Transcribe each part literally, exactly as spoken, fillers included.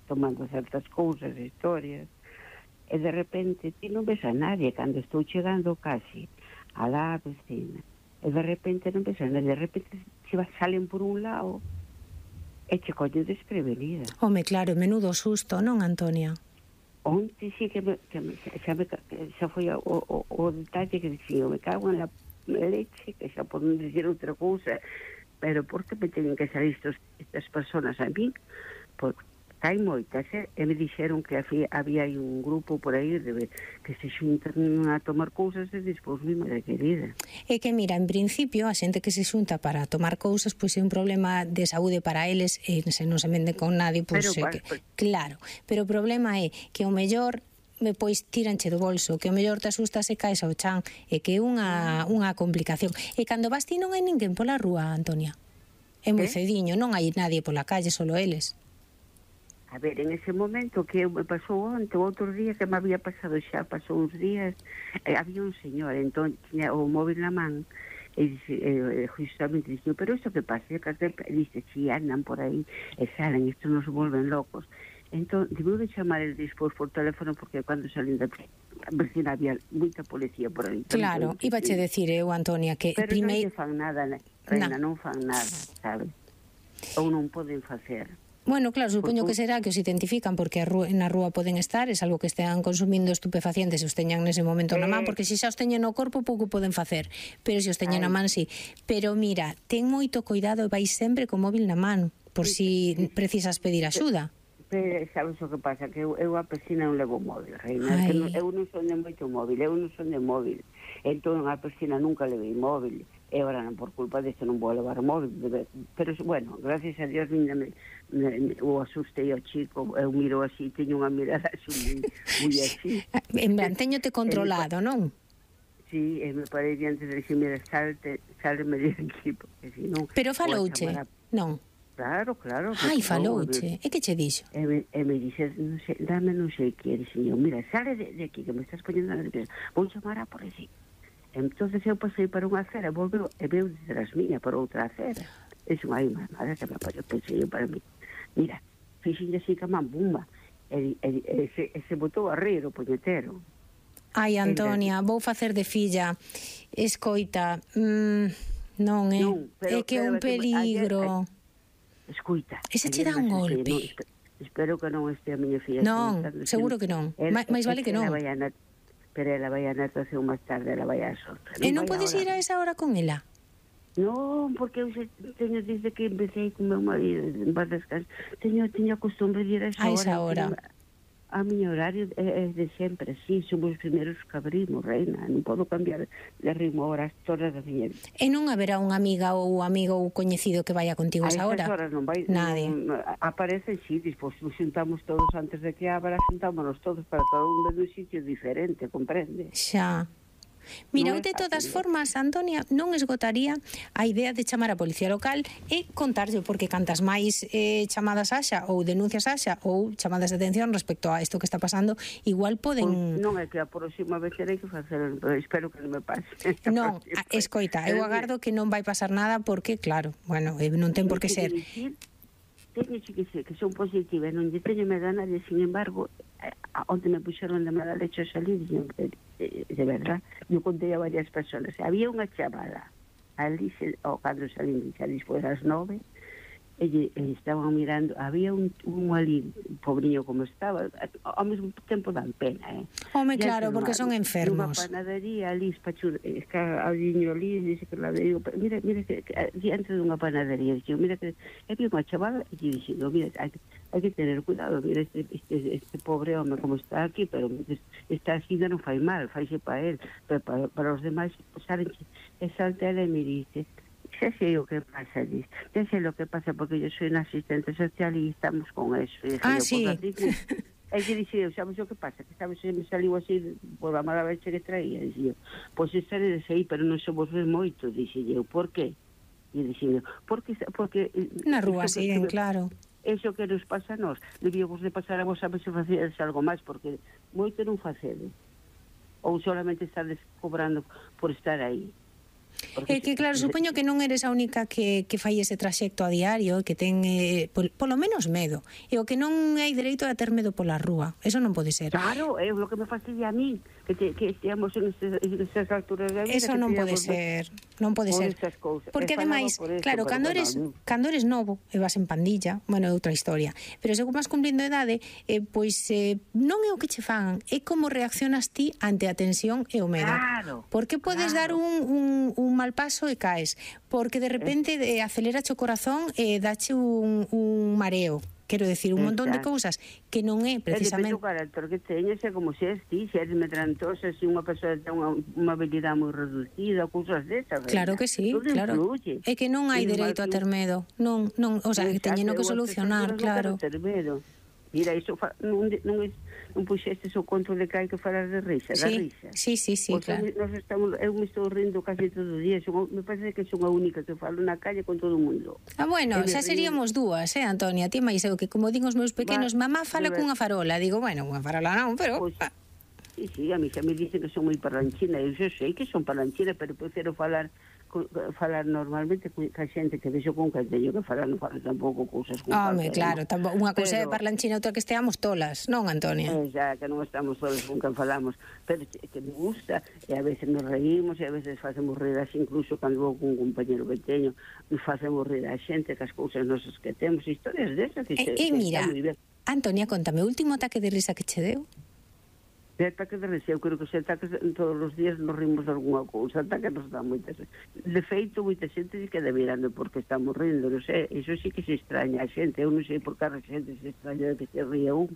tomando certas cousas, historias, e de repente ti non ves a nadie cando estou chegando casi a la vecina, e de repente non ves a nadie, de repente se salen por un lado e che collen desprevenida. Home, claro, menudo susto, non, Antonia? Onte sí que, me, que me, xa, me, xa foi o, o, o detalle que dixía, me cago en la leche, que xa por non dicir outra cousa, pero por que me teñen que salir estos, estas personas a mí? Porque hai moitas, eh? E me dixeron que había, había aí un grupo por aí de, que se xuntan a tomar cousas e despois mi madre querida. É que, mira, en principio, a xente que se xunta para tomar cousas, pois é un problema de saúde para eles, e se non se vende con nadie, pois... Pero, que, pues, claro, pero o problema é que o mellor pois tiranche do bolso, que o mellor te asustas e caes ao chan, e que é unha, unha complicación. E cando vas ti non hai ninguén pola rúa, Antonia. É moi cediño, non hai nadie pola calle, solo eles. A ver, en ese momento que me pasou onte, outro día que me había pasado xa, pasou uns días, eh, había un señor, entón, tiña o móvil na man, e dice, eh, justamente dice, pero isto que pasa? E dice, si andan por aí, e salen, isto nos volven locos. Entón, digo de chamar el despois por teléfono, porque cando salín da vecina había moita policía por aí. Claro, iba che decir eu, Antonia, que pero primeiro... non fan nada, reina, non fan nada, sabe? Ou non poden facer. Bueno, claro, supoño que será que os identifican porque a rúa, na rúa poden estar, é algo que estean consumindo estupefacientes se os teñan nese momento na man, porque se xa os teñen no corpo pouco poden facer, pero se os teñen na man, sí. Pero mira, ten moito cuidado e vai sempre co móvil na man, por si precisas pedir axuda. Pero sabes o que pasa, que eu, eu a piscina non levo móvil, reina, que non, eu non son de moito móvil, eu non son de móvil, entón a piscina nunca levei móvil, e agora non, por culpa disto non vou levar móvil, pero bueno, gracias a Dios me, me, me, o asustei ao chico, eu miro así, teño unha mirada así, moi así. En plan, teñote controlado, non? Sí, e me parei diante de dixer, mira, salte, salme de aquí, porque si non... Pero falouche, non? Claro, claro. Ai, falouche, e que che dixo? E me, e me dixe, non sei, dame non sei que, dixo, mira, sale de, de aquí, que me estás poñendo nerviosa, vou chamar a policía. Entonces eu pasei para unha acera, volveu e veu detrás miña por outra acera. Dixo, ai, mamada, que me apoio, pensei eu para mí. Mira, fixinlle así que a man, bumba, e, e, e, se, e se botou a rir o puñetero. Ai, Antonia, vou facer de filla. Escoita, mm, non, é, non, pero, é que é un peligro. Ayer, escuita. Ese che dá un golpe. Non, espero que non este a miña filla. Non, seguro que non. Mais vale que non. Pero ela vai a natación máis tarde, ela vai a sorte. E non podes ir a esa hora con ela? Non, porque eu teño desde que empecé con meu marido, en paz descanso, teño, teño a costumbre de ir a esa hora. A esa hora. A miño horario é de sempre, sí, somos os primeiros que abrimos, reina, non podo cambiar de ritmo horas todas da miña vida. E non haberá unha amiga ou amigo ou coñecido que vaya contigo a esa hora? A horas non vai, nadie. Non, aparecen, sí, despois nos xuntamos todos antes de que abra, xuntámonos todos para cada un de un sitio diferente, comprende? Xa. Mira, eu de todas formas, Antonia, non esgotaría a idea de chamar a policía local e contarlle, porque cantas máis eh, chamadas haxa ou denuncias haxa ou chamadas de atención respecto a isto que está pasando, igual poden... Pues non é que a próxima vez terei que facer, pero espero que non me pase. Non, escoita, eu agardo que non vai pasar nada porque, claro, bueno, non ten por que ser... Teño que ser que son positiva, non lle teño medo a nadie, sin embargo, onde me puxeron de mala leche a salir, de, de, de verdad, eu contei a varias personas, había unha chamada, ali, o cando salín, salís por as nove, e, e estaban mirando, había un, un ali, pobriño como estaba, ao mesmo tempo dan pena, eh? Home, claro, porque son enfermos. Unha panadería ali, espachur, está aliño ali, dice que la digo, mira, mira, que, que diante dunha panadería, dice, mira, que había unha chavala, e dixo, mira, hai, hai que tener cuidado, mira, este, este, este pobre home como está aquí, pero está así, non fai mal, faise para él, pero para, para os demais, saben, e salta ela e me dice, xa sei o que pasa, dice, xa sei o que pasa, porque yo soy una asistente social e estamos con eso. E ah, yo, sí. E que dixe, sabes o que pasa? Que sabes, se me saliu así por a mala leche que traía, dixe, pois pues estaredes aí, pero non somos ver moito, dixe eu, por qué? E dixe, porque, porque na rúa siguen, claro. Eso que nos pasa a nós, debíamos de pasar a vos a ver se facedes algo máis, porque moito non facedes. Ou solamente estades cobrando por estar aí. É que claro, supoño que non eres a única que, que fai ese traxecto a diario, que ten eh, pol, polo menos medo, e o que non hai dereito a ter medo pola rúa, eso non pode ser. Claro, é o que me fastidia a mí, que, te, que esteamos en esas alturas da vida. Eso non pode ser, non pode ser. Porque ademais, claro, cando eres, cando eres novo e vas en pandilla, bueno, é outra historia, pero según vas cumplindo edade, eh, pois eh, non é o que che fan, é como reaccionas ti ante a tensión e o medo. Claro. Porque podes claro. dar un, un, un mal paso e caes, porque de repente eh, acelerache o corazón e dache un, un mareo. Quero decir, un montón de cousas que non é precisamente... É depende do carácter que teñes, é como se és ti, se eres medrantosa, se unha persoa ten unha, unha habilidade moi reducida, cousas desas. Claro que sí, todo claro. Influye. É que non hai dereito a ter medo. Non, non, o sea, que teñeno que solucionar, claro. Ter medo. Mira, iso fa, non, non, non puxestes o conto de que hai que falar de risa, da sí, risa. Sí, sí, sí, Porque claro. Nos estamos, eu me estou rindo casi todo o día, son, me parece que son a única que falo na calle con todo o mundo. Ah, bueno, xa seríamos dúas, eh, Antonia, ti máis eu, que como digo os meus pequenos, Va, mamá fala cunha farola, digo, bueno, unha farola non, pero... Pues, sí, sí, a mí xa me dicen que son moi parlanchina, eu xa sei que son parlanchina, pero prefiro falar falar normalmente ca xente que vexo con que teño que falar, non falo tampouco cousas con Home, claro, no? tampouco, unha cousa é parlanchina, outra que esteamos tolas, non, Antonia? Eh, xa, que non estamos tolas con que falamos, pero que me gusta, e a veces nos reímos, e a veces facemos rir así, incluso cando vou con un compañero que teño, nos facemos rir a xente, que as cousas nosas que temos, historias desas, que, e, se, e que mira, Antonia, contame, o último ataque de risa que che deu? De ataque de risa, eu creo que se ataques todos os días nos rimos de alguna cousa, ataque nos dá moitas. De feito, moita xente se queda mirando porque estamos rindo, non sei, iso sí que se extraña a xente, eu non sei por que a xente se extraña de que se ría un.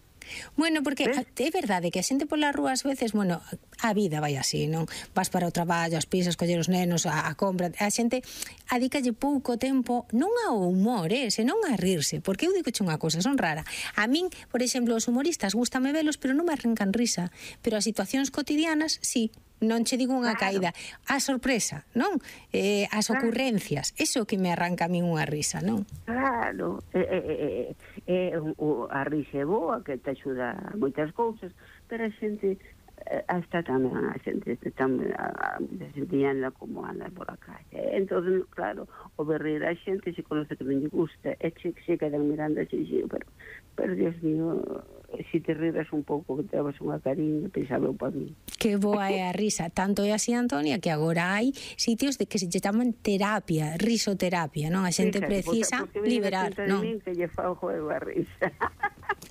Bueno, porque ¿ves? É verdade que a xente pola rúa ás veces, bueno, a vida vai así, non? Vas para o traballo, as pisas, coller os nenos, a, a compra, a xente adícalle pouco tempo, non ao humor, eh, senón a rirse, porque eu digo che unha cousa, son rara. A min, por exemplo, os humoristas gústame velos, pero non me arrancan risa. Pero as situacións cotidianas, sí, non che digo unha claro. caída. A sorpresa, non? Eh, as claro. ocurrencias, eso que me arranca a min unha risa, non? Claro, eh, eh, eh, eh, a risa é boa, que te axuda a moitas cousas, pero a xente, eh, hasta tamén a xente, tamén a, a, a xente anda como anda por a calle. Entón, claro, o berrir a xente se conoce que non lle gusta, e che, se quedan mirando así, pero, pero, Dios mío, si te riras un pouco, que te dabas unha cariño, pensaba eu para mí. Que boa é a risa, tanto é así, Antonia, que agora hai sitios de que se chaman terapia, risoterapia, non? A xente Fíjate, precisa porque, porque liberar, non? Min que lle fa o juego a risa.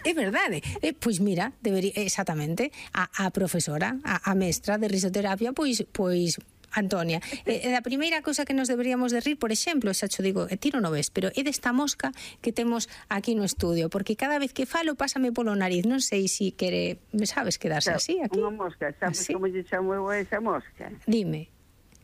É verdade. Eh, pois mira, debería exactamente a, a profesora, a, a mestra de risoterapia, pois pois Antonia, eh, a primeira cousa que nos deberíamos de rir, por exemplo, xa cho digo, e tiro no ves, pero é desta mosca que temos aquí no estudio, porque cada vez que falo pásame polo nariz, non sei se si quere, sabes, quedarse así aquí. Unha mosca, sabes ¿Así? Como lle chamo eu a esa mosca? Dime.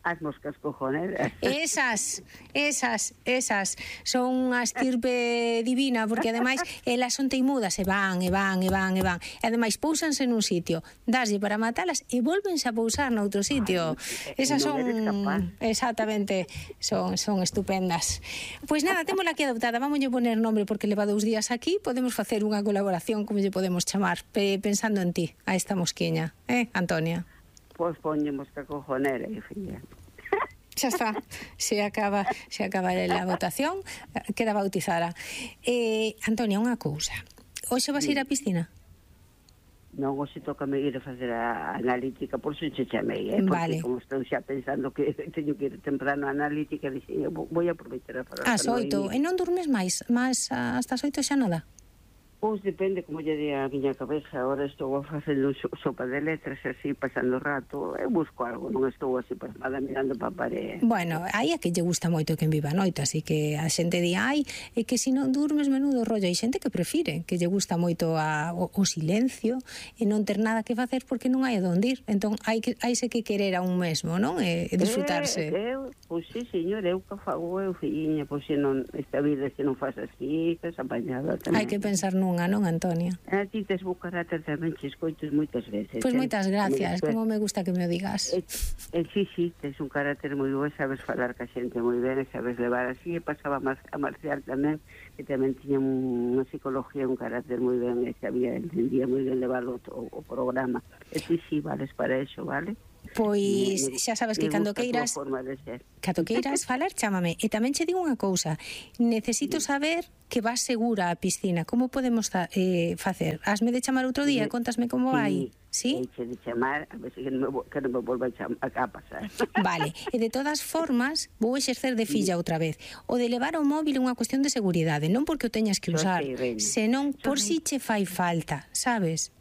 As moscas cojoneras. Esas, esas, esas son unha estirpe divina, porque ademais elas son teimudas e van, e van, e van, e van. E ademais pousanse nun sitio, daslle para matalas e volvense a pousar noutro sitio. Ay, esas no son exactamente, son son estupendas. Pois nada, témola aquí adoptada, vamos a poner nombre porque leva dous días aquí, podemos facer unha colaboración, como lle podemos chamar, pensando en ti, a esta mosquiña, eh, Antonia? Pois poñemos que cojonera, filla. Xa está, se acaba, se acaba a votación, queda bautizada. Eh, Antonia, unha cousa. Hoxe vas ir á piscina? Non, hoxe toca me ir a facer a analítica, por eso che chamei, eh? Porque vale. Como estou xa pensando que teño que ir temprano a analítica, dixen, vou aproveitar a falar. As oito, e non dormes máis? Máis hasta as oito xa nada? Pois depende como lle di a miña cabeza. Ahora estou facendo sopa de letras así, pasando o rato. Eu busco algo, non estou así pasmada mirando para a parede. Bueno, aí a que lle gusta moito que en viva a noite, así que a xente di, ai, é que se non durmes menudo rollo. Hai xente que prefire, que lle gusta moito a, o, o silencio e non ter nada que facer porque non hai a donde ir. Entón, hai que haise que querer a un mesmo, non? E, e disfrutarse. Eh, eu, pois sí, señor, eu que fago eu, filliña, pois se non, esta vida se non faz así, que se apañada tamén. Hai que pensar nun Unha, non, Antonia? A ti tes bo carácter tamén, che escoitos moitas veces. Pois moitas gracias, como me gusta que me o digas. E, e sí, sí, tes un carácter moi bo, sabes falar ca xente moi ben, sabes levar así, e pasaba a Marcial tamén, que tamén tiña unha psicología, un carácter moi ben, e sabía, entendía moi ben levar o, o, o programa. E sí, sí, vales para eso, vale? Pois xa sabes que cando queiras cando queiras falar, chámame. E tamén che digo unha cousa, necesito saber que vas segura á piscina. Como podemos eh, facer? Hasme de chamar outro día, contasme como vai. Sí? Eiche de chamar, a ver se que non me, que non me volva a, a pasar. Vale, e de todas formas vou exercer de filla outra vez. O de levar o móvil é unha cuestión de seguridade, non porque o teñas que usar, senón por si che fai falta, sabes?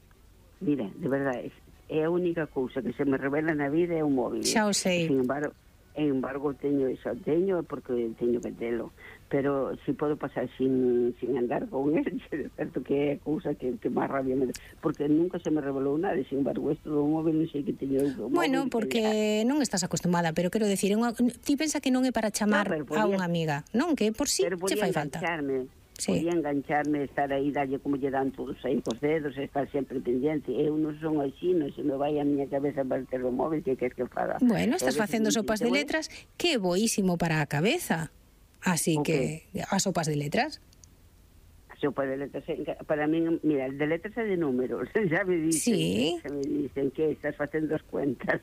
Mira, de verdade, é a única cousa que se me revela na vida é o móvil. Xa o sei. Sin embargo, en embargo teño eso, teño porque teño que telo, pero si podo pasar sin, sin andar con él, é certo que é cousa que, que máis rabia me... porque nunca se me revelou nada, sin embargo, isto do móvil non sei que teño eu. Bueno, porque non estás acostumada, pero quero decir, unha... ti pensa que non é para chamar no, podía... a unha amiga, non? Que por si che fai falta. Sí. Podía engancharme, estar aí, darlle como lle dan todos aí cos dedos, estar sempre pendiente. Eu non son así, non se me vai a miña cabeza para ter o móvil, que queres que faga? Bueno, estás facendo sopas de letras, que é boísimo para a cabeza. Así okay. que, as sopas de letras... Sopa de letras, para mí, mira, el de letras é de números, xa me dicen, sí. xa me dicen que estás facendo as cuentas.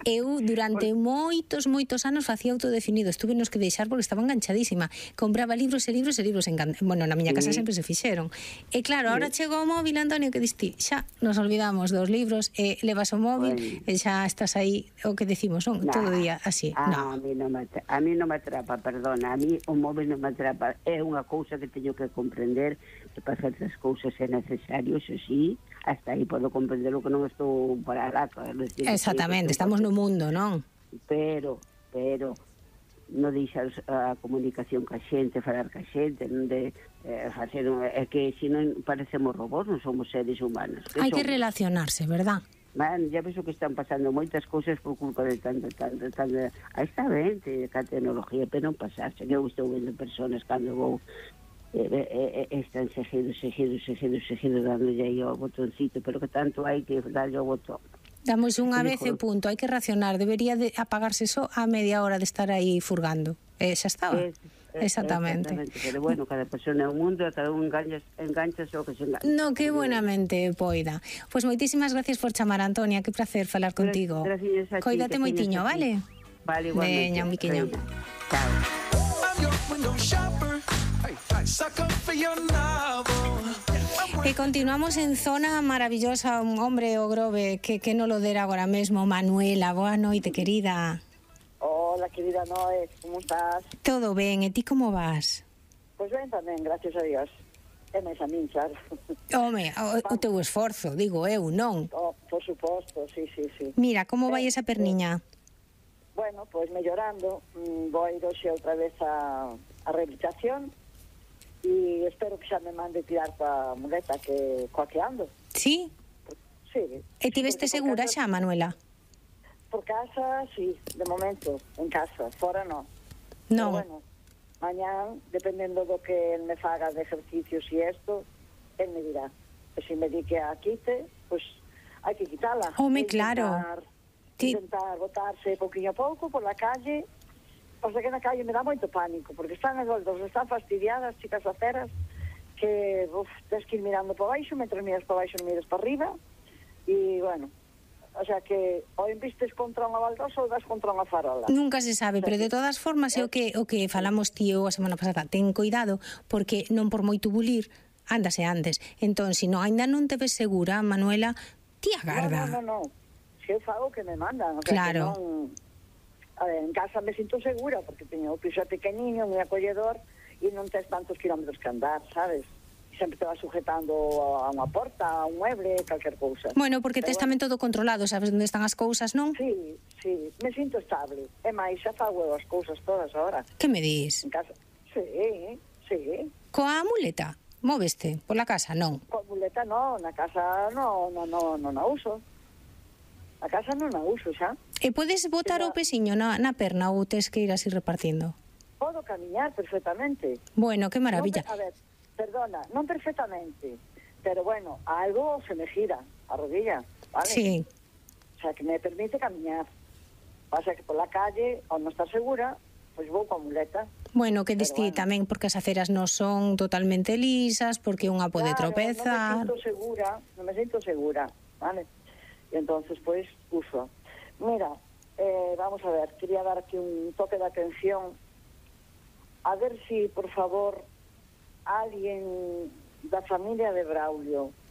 Eu durante Por... moitos, moitos anos facía autodefinido, estuve nos que deixar porque estaba enganchadísima, compraba libros e libros e libros, engan... bueno, na miña casa sí. sempre se fixeron. E claro, ahora sí. chegou o móvil, Antonio, que diste, xa nos olvidamos dos libros, e levas o móvil, bueno. e xa estás aí, o que decimos, non? Nah. Todo o día, así. Ah, no. a mí non me, a mí non me atrapa, perdona, a mí o móvil non me atrapa, é unha cousa que teño que comprender que para certas cousas é necesario, eso sí, hasta aí podo comprender o que non estou para lá. Exactamente, que estamos no mundo, non? Pero, pero, non deixar a comunicación ca xente, falar ca xente, non de eh, facer, é que se non parecemos robós, non somos seres humanos. Hai que relacionarse, verdad? Man, ya ves o que están pasando moitas cousas por culpa de tanto, tanto, tanto... Aí está ben, que a tecnología, pero non pasarse, que eu estou vendo personas cando vou Eh, eh, eh, están seguidos, seguidos, seguidos, seguidos dándolle aí ao botoncito, pero que tanto hai que darlle ao botón. Damos unha vez e punto, hai que racionar, debería de apagarse só a media hora de estar aí furgando. Eh, xa estaba. Es, es, exactamente. exactamente. Pero bueno, cada persona é un mundo, cada un engancha, engancha o que se engancha. No, que buenamente poida. Pois pues moitísimas gracias por chamar, Antonia, que placer falar contigo. Gracias a ti. Coídate moitiño, vale? Vale, igualmente. Veña, un biquiño. Chao. E continuamos en zona maravillosa, un hombre o Grove que, que non lo dera agora mesmo. Manuela, boa noite, querida. Hola, querida Noé, como estás? Todo ben, e ti como vas? Pois ben tamén, gracias a Dios. É máis a min, claro. Home, o, o teu esforzo, digo eu, non? Oh, por suposto, sí, sí, sí. Mira, como vai esa perniña? Bueno, pois mellorando, vou ir hoxe outra vez a, a rehabilitación e espero que xa me mande tirar pa muleta que coa que ando. Sí? Sí. E tiveste segura xa, Manuela? Por casa, sí, de momento, en casa, fora non. Non. Pero bueno, mañán, dependendo do que el me faga de ejercicios e esto, él me dirá. E se me di que a quite, pois hai que quitala. Home, claro. Intentar botarse pouquinho a pouco por la calle. O sea que na calle me dá moito pánico, porque están as dos, están fastidiadas, chicas aceras, que uf, tens que ir mirando para baixo, mentre miras para baixo non miras para arriba, e bueno, o sea que ou envistes contra unha baldosa ou das contra unha farola. Nunca se sabe, pero de todas formas é o que o que falamos tío a semana pasada, ten cuidado, porque non por moito bulir, ándase antes. Entón, se non ainda non te ves segura, Manuela, ti agarda. No, no, no, no. Se eu fago que me mandan, o sea, claro. Que non... A ver, en casa me sinto segura porque teño o piso pequeniño, moi acolledor e non tens tantos kilómetros que andar, sabes? E sempre te vas sujetando a unha porta, a un mueble, calquer cousa. Bueno, porque tes tamén todo controlado, sabes onde están as cousas, non? Sí, sí, me sinto estable. E máis, xa fago as cousas todas agora. Que me dis? En casa, sí, sí. Coa muleta? Móveste pola casa, non? Coa muleta non, na casa non, non, non, non a uso. A casa non a uso xa. E podes botar o pesiño na, na perna ou tes que ir así repartindo? Podo camiñar perfectamente. Bueno, que maravilla. Non, a ver, perdona, non perfectamente, pero bueno, algo se me gira a rodilla, vale? Sí. O sea, que me permite camiñar. Pasa que por la calle, ao non estar segura, pois vou coa muleta. Bueno, que distí bueno. Tamén porque as aceras non son totalmente lisas, porque unha pode claro, tropezar. non me sinto segura, non me sinto segura, vale? E entonces, pois, uso. Mira, eh, vamos a ver, quería dar aquí un toque de atención, a ver si, por favor, alguén da familia de Braulio